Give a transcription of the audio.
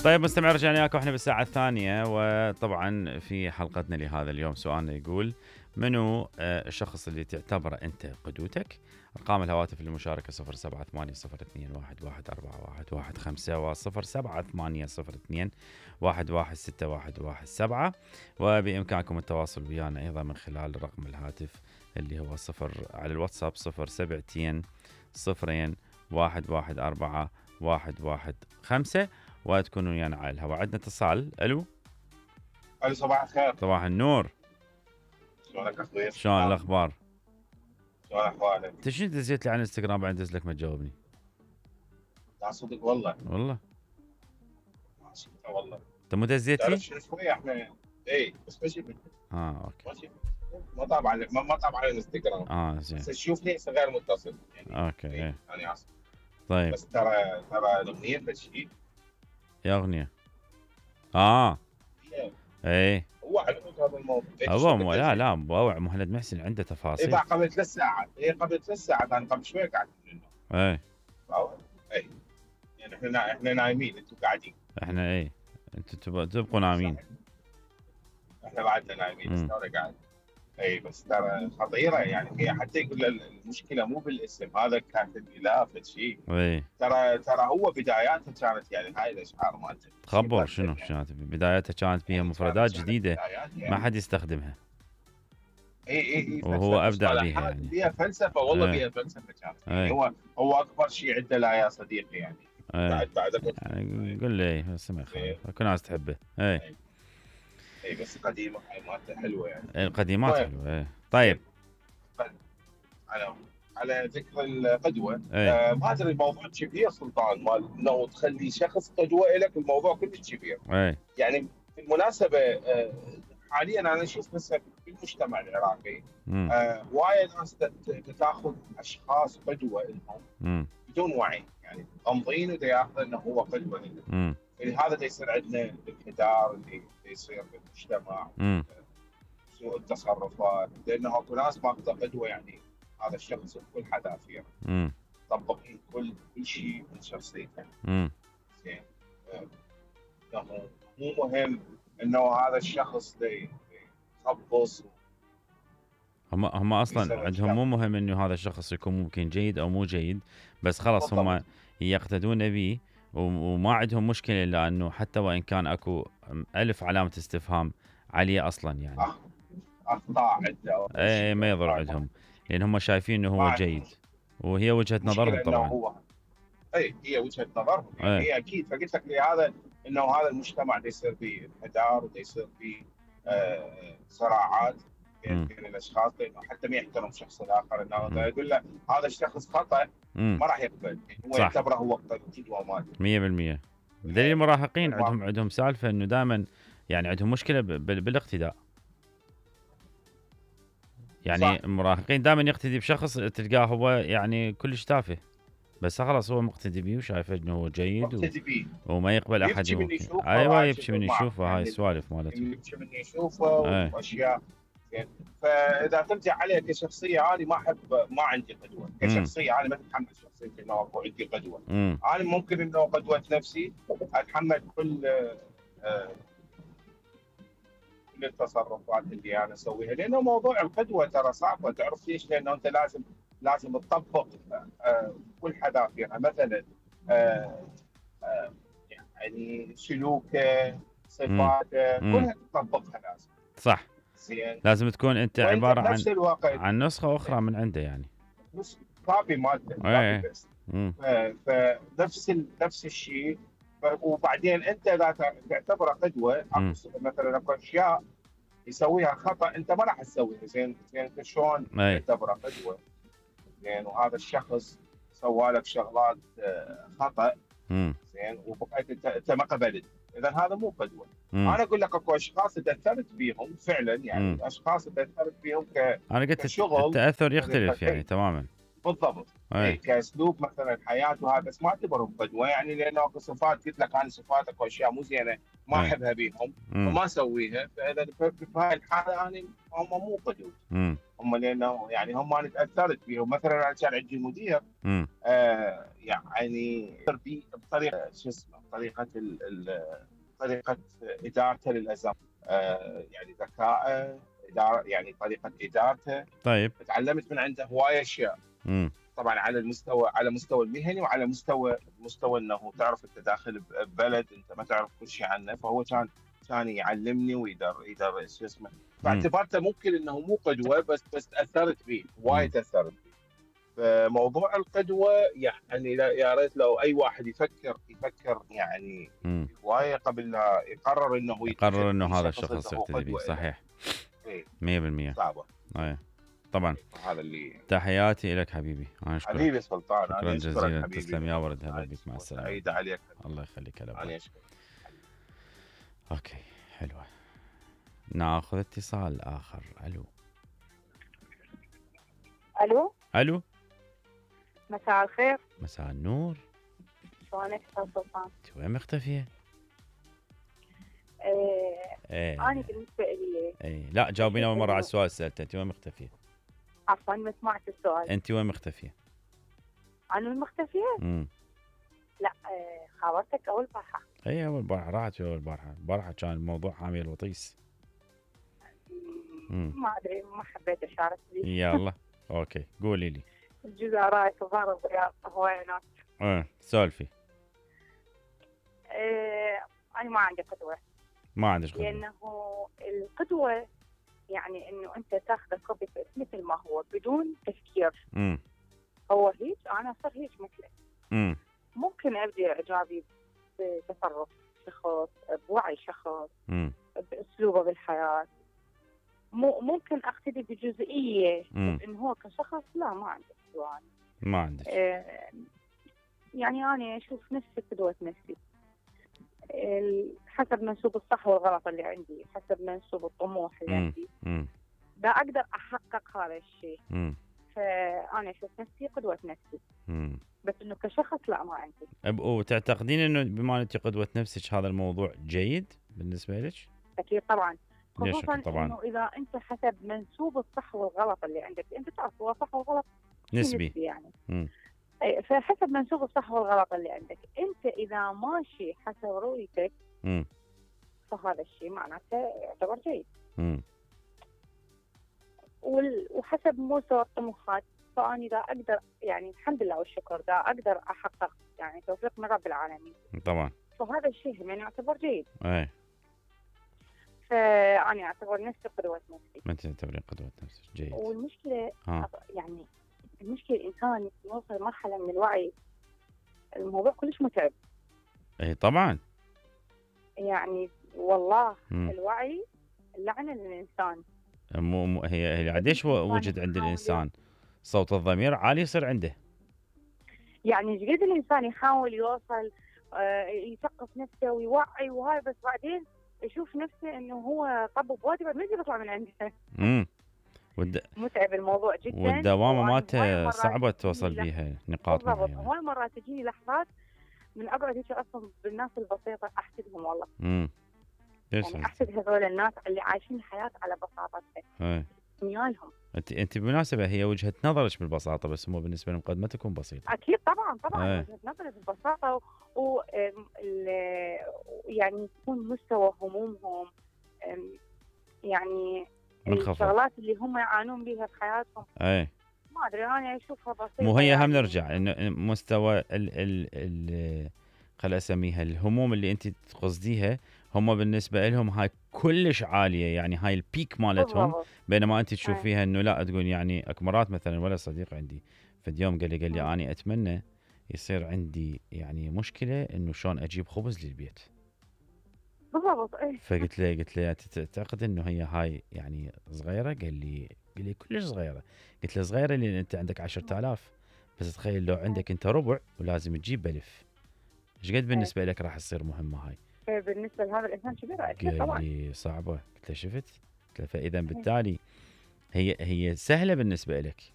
طيب مستمع، رجعنا وياكم احنا بالساعة الثانية، وطبعا في حلقتنا لهذا اليوم سؤالنا يقول: منو الشخص اللي تعتبره انت قدوتك؟ ارقام الهواتف للمشاركة 0780211115 و078021161117، وبإمكانكم التواصل ويانا أيضا من خلال رقم الهاتف اللي هو 0 على الواتساب 07 0 114 115، وتكونوا ويانا على الهواء. عندنا اتصال. الو صباح الخير. صباح النور. شلونك اخوي؟ شلون الاخبار؟ شلون احوالك؟ انت شنو دزيت لي على الانستغرام بعد دز لك ما تجاوبني؟ لا صدق والله والله انت مو دزيت لي؟ تعرف شوي احنا بس ماشي اوكي ماشي ما طابع على الانستغرام. زين. بس تشوفني غير متصل يعني. اوكي انا اسف. طيب بس ترى الاغنيه بشيء يا اغنيه ايه هو علمك هذا الموضوع. هو لا مبوع مهند محسن عنده تفاصيل. قبل 3 ساعات قبل 3 ساعات انا قبل شوي قاعد ايه يعني احنا نايمين، انتم قاعدين. احنا انتم تبقوا نايمين، احنا بعدنا نايمين بس ترى قاعد. بس ترى خطيره يعني. هي حتى يقول المشكله مو بالاسم، هذا كانت الاله شيء. ترى هو بداياته كانت يعني هاي الاشعار مالته تخبر شنو كانت بداياتها؟ كانت بها مفردات جديده ما حد يستخدمها. وهو ابدع بها يعني. بها فلسفه والله. بها فلسفه كانت يعني. هو اكبر شيء عنده لا يا صديقي يعني. بعد يعني قول لي بس ما يخالف، كل الناس تحبه. بس قديمه هاي مالته حلوه يعني. القديمات حلوه. طيب على ذكر القدوه، ما ادري الموضوع كبير سلطان، مال انه تخلي شخص قدوه لك، الموضوع كلش كبير. يعني بالمناسبه حاليا انا اشوف بس في المجتمع العراقي وايد ناس تاخذ اشخاص قدوه لهم بدون وعي، يعني غامضين وياخذ انه هو قدوه لهم. لهذا يصير عندنا الانحدار اللي يصير بالمجتمع، سوء التصرفات، لانه اكو ناس ماخذه قدوه يعني هذا الشخص بكل حذافيره طبقين كل شيء من شخصيته. زين مو مهم انه هذا الشخص يخبص. هم اصلا عندهم مو مهم انه هذا الشخص يكون ممكن جيد او مو جيد، بس خلاص هم يقتدون به، وما عندهم مشكله الا انه حتى وان كان اكو 1000 علامه استفهام عليه اصلا يعني. اخطاء عنده ما يضر عندهم، لان هم شايفين انه هو جيد، وهي وجهه نظرهم طبعا. هي وجهه نظرهم يعني. هي اكيد. فقلت لك هذا انه هذا المجتمع يصير فيه انحدار ويصير فيه صراعات بين الاشخاص، لانه حتى ما يحترم الشخص الاخر، انه يقول له هذا الشخص خطا ما راح يقبل، هو يعتبره هو قدوه مالته 100%. بدليل المراهقين عندهم سالفه انه دائما يعني عندهم مشكله بالاقتداء. يعني المراهقين دائما يقتدي بشخص تلقاه هو يعني كلش تافه، بس خلاص هو مقتدي بيه وشايف انه هو جيد وما يقبل احد يبكي من يشوفه. هاي السوالف مالته يبكي من يشوفه واشياء. فاذا ترجع عليه كشخصيه، انا ما عندي قدوه كشخصيه. انا ما اتحمل شخصيتي انه اكو عندي قدوه. انا ممكن انه قدوه نفسي اتحمل كل التصرفات اللي انا اسويها، لانه موضوع القدوه ترى صعبه. تعرف ليش؟ لانه انت لازم تطبق كل حذافيرها. مثلا يعني سلوكه، صفاته، كلها تطبقها لازم. صح. زين. لازم تكون انت عباره عن نسخه اخرى من عنده يعني. كابي مالته. فنفس الشيء. وبعدين انت اذا تعتبره قدوه، مثلا اكو اشياء يسويها خطا انت ما راح تسويها. زين شلون تعتبره قدوه؟ زين وهذا الشخص سوى لك شغلات خطا، زين وبقيت انت ما قبلت، اذا هذا مو قدوه. انا اقول لك اكو اشخاص تاثرت بيهم فعلا يعني. اشخاص تاثرت بيهم انا قلت التاثر يختلف يعني تماما. بالضبط. اي كاسلوب مثلا حياه وهذا، بس ما اعتبرهم قدوه، يعني لانه اكو صفات قلت لك انا صفات اكو اشياء مو زينه ما احبها بيهم وما اسويها، فاذا في هاي الحاله انا هم مو قدوه. هم لانه يعني هم انا تاثرت بيهم. مثلا انا كان عندي مدير يعني بطريقه شو اسمه طريقه ادارته للازمات، يعني ذكائه، يعني طريقه ادارته. طيب تعلمت من عنده هوايه اشياء. طبعا على مستوى المهني، وعلى مستوى انه تعرف انت داخل ببلد انت ما تعرف كل شيء عنه، فهو كان يعلمني ويدر شو اسمه. فاعتبرته ممكن انه مو قدوه، بس تاثرت به وايد، تاثرت به. فموضوع القدوه يعني يا ريت لو اي واحد يفكر يعني هوايه قبل لا يقرر انه هذا الشخص يقتدي به. صحيح 100% صعبه. طبعا. هذا اللي تحياتي لك حبيبي. انا اشكرك حبيبي سلطان. شكرا جزيلا. تسلم يا ولد. هلا بك. مع السلامه. سعيد عليك. الله يخليك. هلا انا اشكرك. اوكي حلوه. ناخذ اتصال اخر. الو. مساء الخير. مساء النور. شلونك استاذ سلطان؟ انت وين مختفيه؟ انا بالنسبه لي لا جاوبينا اول مره على السؤال سالته. انت وين مختفيه؟ عفوا ما سمعت السؤال. انت وين مختفيه؟ انا وين مختفيه؟ لا خابرتك اول بارحه. اول بارحه راحت. البارحه كان الموضوع حامي الوطيس. ما ادري ما حبيت اشارك بيه. يلا اوكي قولي لي. الجزائر صغار الرياض هواينات. سولفي. انا ما عندي قدوه. ما عندك قدوه؟ لانه القدوه يعني انه انت تاخذ كوبي مثل ما هو بدون تفكير. هو هيك انا صار هيك مثله. ممكن ابدي اعجابي بتصرف شخص، بوعي شخص، باسلوبه بالحياه. ممكن اقتدي بجزئيه، انه هو كشخص لا ما عندي قدوه. ما عندك. يعني انا اشوف نفسي قدوه نفسي حسب منسوب الصح والغلط اللي عندي، حسب منسوب الطموح اللي عندي. دا اقدر احقق هذا الشيء. فانا اشوف نفسي قدوه نفسي. بس انه كشخص لا ما عندي. وتعتقدين انه بما انت قدوه نفسك هذا الموضوع جيد بالنسبه لك؟ اكيد طبعا. خصوصا طبعا انه اذا انت حسب منسوب الصح والغلط اللي عندك، انت تعرف هو صح والغلط نسبي يعني. فحسب منسوب الصح والغلط اللي عندك، انت اذا ماشي حسب رؤيتك فهذا الشيء معناته يعتبر جيد. وحسب مستوى الطموحات، فاني دا اقدر يعني الحمد لله والشكر دا اقدر احقق يعني توفيق من رب العالمين طبعا. فهذا الشيء يعني يعتبر جيد. فأنا أعتبر نفسي قدوة نفسي. ما أنت تعتبرين قدوة نفسك جيد. والمشكلة يعني المشكلة الإنسان يوصل مرحلة من الوعي، الموضوع كلش متعب. طبعا. يعني والله الوعي لعنة للإنسان. هي قديش وجد عند الإنسان صوت الضمير عالي يصير عنده. يعني قد الإنسان يحاول يوصل يثقف نفسه ويوعي وهاي، بس بعدين يشوف نفسه انه هو طب بوادي ما يقدر يطلع من عنده. متعب الموضوع جدا، والدوامه مالته صعبه توصل بيها نقاط معينه. هواي مرات تجيني لحظات من اقعد هيك اصلا بالناس البسيطه احسدهم والله. يعني احسد هذول الناس اللي عايشين الحياه على بساطتها. نيالهم. انت بالمناسبه هي وجهه نظرك بالبساطه، بس هم بالنسبه لهم قد ما تكون بسيطه. اكيد طبعا وجهه نظري بالبساطه يعني يكون مستوى همومهم يعني الشغلات اللي هم يعانون بها في حياتهم. ما ادري انا اشوفها بسيطه. مو هي هم نرجع انه مستوى ال خل اسميها الهموم اللي انت تقصديها، هم بالنسبه لهم هاي كلش عاليه، يعني هاي البيك مالتهم. بينما انت تشوفيها انه لا تقول يعني اكمرات مثلا. ولا صديق عندي في اليوم قال لي اني اتمنى يصير عندي يعني مشكله انه شلون اجيب خبز للبيت. بالضبط. فقلت له تعتقد انه هي هاي يعني صغيره؟ قال لي كلش صغيره. قلت له صغيره لان انت عندك 10,000، بس تخيل لو عندك انت ربع ولازم تجيب بألف، ايش قد بالنسبه لك راح تصير مهمه هاي؟ بالنسبه لهذا الانسان كبيره اكيد طبعا. قال لي صعبه. قلت له شفت؟ قلت له فاذا بالتالي هي سهله بالنسبه لك،